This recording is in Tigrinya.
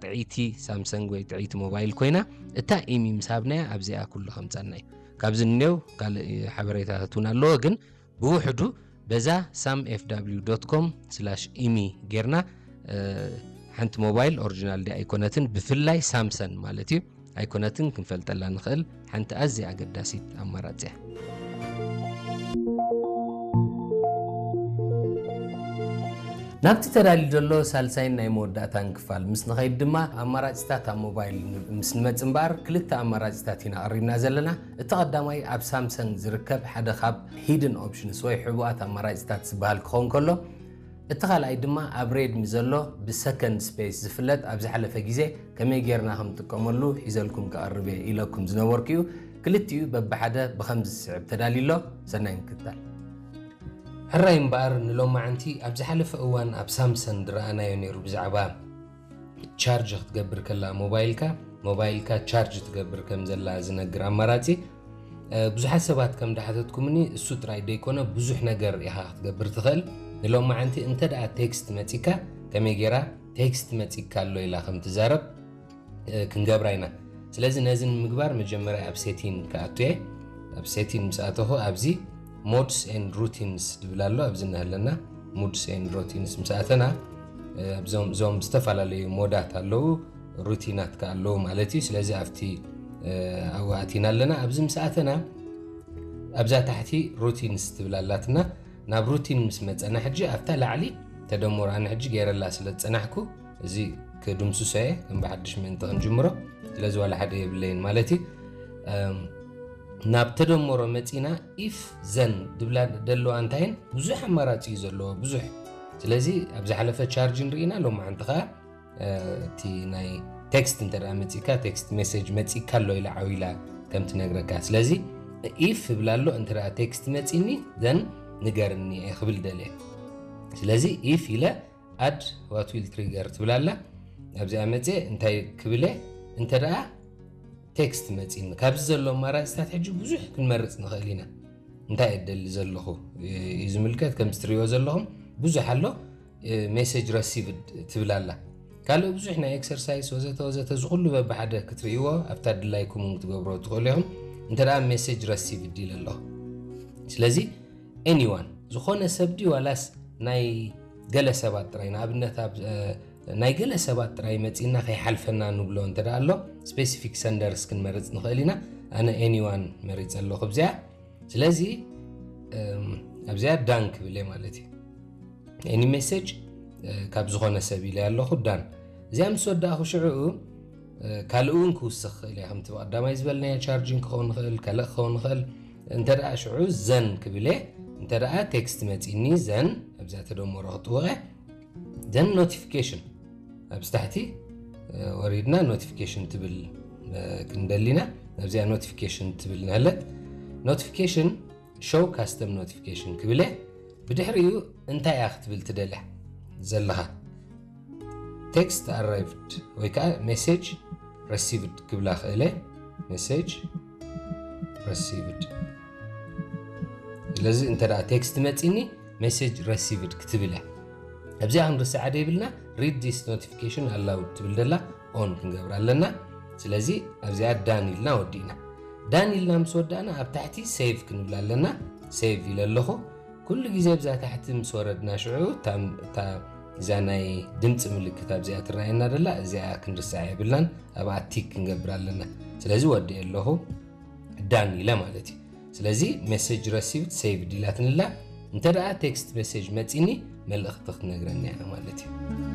ጥዕይቲ ሳምሰንግ ወይ ጥዕይቲ ሞባይል ኮይና፣ እታ ኢሚ ምስ ሃብናያ ኣብዚኣ ኩሉ ከምፀና እዩ። ካብዚ እኔው ካልእ ሓበሬታታት እውን ኣለዎ፣ ግን ብውሕዱ በዛ sam f w dot com slash imi ጌርና ሓንቲ ሞባይል ኦሪጂናል ዲ ኣይኮነትን፣ ብፍላይ ሳምሰን ማለት እዩ ኣይኮነትን ክንፈልጠላ ንኽእል ሓንቲ ኣዝያ ኣገዳሲት ኣማራፂ እያ። ናብቲ ተዳልዩ ዘሎ ሳልሳይን ናይ መወዳእታን ክፋል ምስ ንኸይድ ድማ ኣማራፂታት ኣብ ሞባይል ምስ ንመፅ እምበኣር ክልተ ኣማራፂታት ኢና ኣቕሪብና ዘለና። እቲ ቀዳማይ ኣብ ሳምሰንግ ዝርከብ ሓደ ካብ ሂድን ኦፕሽንስ ወይ ሕቡኣት ኣማራፂታት ዝበሃል ክኸውን ከሎ፣ እቲ ካልኣይ ድማ ኣብ ሬድሚ ዘሎ ብሰከንድ ስፔስ ዝፍለጥ ኣብ ዝሓለፈ ግዜ ከመይ ጌርና ከም ጥቀመሉ ሒዘልኩም ክቐርብ እየ ኢለኩም ዝነበርኩ እዩ። ክልቲኡ በብሓደ ብኸምዚ ዝስዕብ ተዳልዩ ኣሎ። ሰናይ ምክትታል። ሕራይ እምበኣር ንሎማዓንቲ ኣብ ዝሓለፈ እዋን ኣብ ሳምሰን ዝረኣናዮ ነይሩ ብዛዕባ ቻርጅ ክትገብር ከላ ሞባይልካ ሞባይልካ ቻርጅ ትገብር ከም ዘላ ዝነግር ኣማራፂ። ብዙሓት ሰባት ከም ዳሓተትኩምኒ እሱ ጥራይ ደይኮነ ብዙሕ ነገር ኢኻ ክትገብር ትኽእል። ንሎማዓንቲ እንተ ደኣ ቴክስት መፂካ ከመይ ጌራ ቴክስት መፂካ ኣሎ ኢላ ከም ትዛረብ ክንገብራ ኢና። ስለዚ ነዚ ንምግባር መጀመርያ ኣብ ሴቲን ክኣቱ እየ። ኣብ ሴቲን ምስ ኣተኹ ኣብዚ ሞድስ ኤንድ ሩቲንስ ዝብል ኣሎ። ኣብዚ እናሃለና ሙድስ ኤንድ ሩቲንስ ምስ ኣተና እዞም ዝተፈላለዩ ሞዳት ኣለዉ፣ ሩቲናት ከ ኣለዉ ማለት እዩ። ስለዚ ኣብቲ ኣብኡ ኣቲና ኣለና። ኣብዚ ምስ ኣተና ኣብዛ ታሕቲ ሩቲንስ ትብል ኣላትና። ናብ ሩቲን ምስ መፀና ሕጂ ኣብታ ላዕሊ ተደምሮ ኣነ ሕጂ ገይረላ ስለ ዝፀናሕኩ እዚ ክድምስሶ እየ። ከም ብሓድሽ ምእንቲ ክንጅምሮ ስለዚ ዋላ ሓደ የብለይን ማለት እዩ። ናብ ተደምሮ መፂና ኢፍ ዘን ድብላ ደለዋ እንታይን ብዙሕ ኣማራፂ እዩ ዘለዎ ብዙሕ። ስለዚ ኣብ ዝሓለፈ ቻርጅ ንርኢና ሎማዓንቲ ከዓ እቲ ናይ ቴክስት እንተ መፂካ ቴክስት ሜሴጅ መፂካ ኣሎ ኢላ ዓው ኢላ ከም ትነግረካ። ስለዚ ኢፍ እብላ ኣሎ እንተ ቴክስት መፂኒ ዘን ንገርኒ እየ ክብል ደልየ። ስለዚ ኢፍ ኢለ ኣድ ዋት ዊል ትሪገር ትብላላ ኣብዚኣ መፅየ እንታይ ክብለ እንተ ደኣ ቴክስት መፂኒ ካብዚ ዘሎ ኣማራፅታት ሕጂ ብዙሕ ክንመርፅ ንኽእል ኢና። እንታይ እደሊ ዘለኹ እዩ ዝምልከት። ከም ትሪእዎ ዘለኹም ብዙሕ ኣሎ። ሜሴጅ ረሲቭድ ትብል ኣላ። ካልእ ብዙሕ ናይ ኤክሰርሳይስ ወዘተ ወዘተ ዝኩሉ በብሓደ ክትርእይዎ ኣብታ ድላይኩም እውን ክትገብሮ ትኽእሉ ኢኹም። እንተ ደኣ ሜሴጅ ረሲቭድ ኢለ ኣለኹ። ስለዚ ኤኒዋን ዝኾነ ሰብ ድዩ ዋላስ ናይ ገለ ሰባት ጥራይ ንኣብነት ናይ ገለ ሰባት ጥራይ መፂና ከይሓልፈና ንብሎ እንተ ደኣ ኣሎ ስፔሲፊክ ሰንደርስ ክንመርፅ ንኽእል ኢና። ኣነ ኤኒዋን መሪፀ ኣለኹ ኣብዚኣ። ስለዚ ኣብዚኣ ዳን ክብል እየ ማለት እዩ። ኤኒ ሜሴጅ ካብ ዝኾነ ሰብ ኢለ ኣለኹ ዳን። እዚኣ ምስ ወዳእኹ ሽዕኡ ካልእ እውን ክውስኽ ክእል እየ ከምቲ ብቀዳማይ ዝበልናዮ ቻርጅን ክኸውን ንኽእል ካልእ ክኸውን ንኽእል። እንተ ደኣ ሽዑ ዘን ክብል እየ። እንተ ደኣ ቴክስት መፂኒ ዘን ኣብዚኣ ተደመሮ ክጥውቐ ዘን ኖቲፊኬሽን ኣብዚ ታሕቲ ወሪድና ኖቲፊኬሽን ትብል ክንደሊና ኣብዚኣ ኖቲፊኬሽን ትብል ንህለት ኖቲፊኬሽን ሾው ካስተም ኖቲፊኬሽን ክብለ ብድሕሪኡ እንታይ እያ ክትብል ትደልያ ዘለኻ ቴክስት ኣራይቭድ ወይ ከዓ ሜሴጅ ረሲቭድ ክብላ ክእለ ሜሴጅ ረሲቭድ ስለዚ እንተ ቴክስት መፂኒ ሜሴጅ ረሲቭድ ክትብል እያ ኣብዚኣ ክንርስዓ ደይብልና read this notification aloud ትብል ደላ ኦን ክንገብር ኣለና ስለዚ ኣብዚኣ ዳን ኢልና ወዲእና ዳን ኢልና ምስ ወዳእና ኣብ ታሕቲ ሴቭ ክንብል ኣለና ሴቭ ኢለ ኣለኹ ኩሉ ግዜ ኣብዛ ታሕቲ ምስ ወረድና ሽዑ እታ እዛ ናይ ድምፂ ምልክት ኣብዚኣ ትረኣየና ደላ እዚኣ ክንርስዓ የብልናን ኣብኣ ቲክ ክንገብር ኣለና ስለዚ ወዲኤ ኣለኹ ዳን ኢለ ማለት እዩ ስለዚ ሜሴጅ ረሲቭድ ሴቭድ ኢላትንላ እንተ ደኣ ቴክስት ሜሴጅ መፂኒ መልእኽቲ ክትነግረኒ እያ ማለት እዩ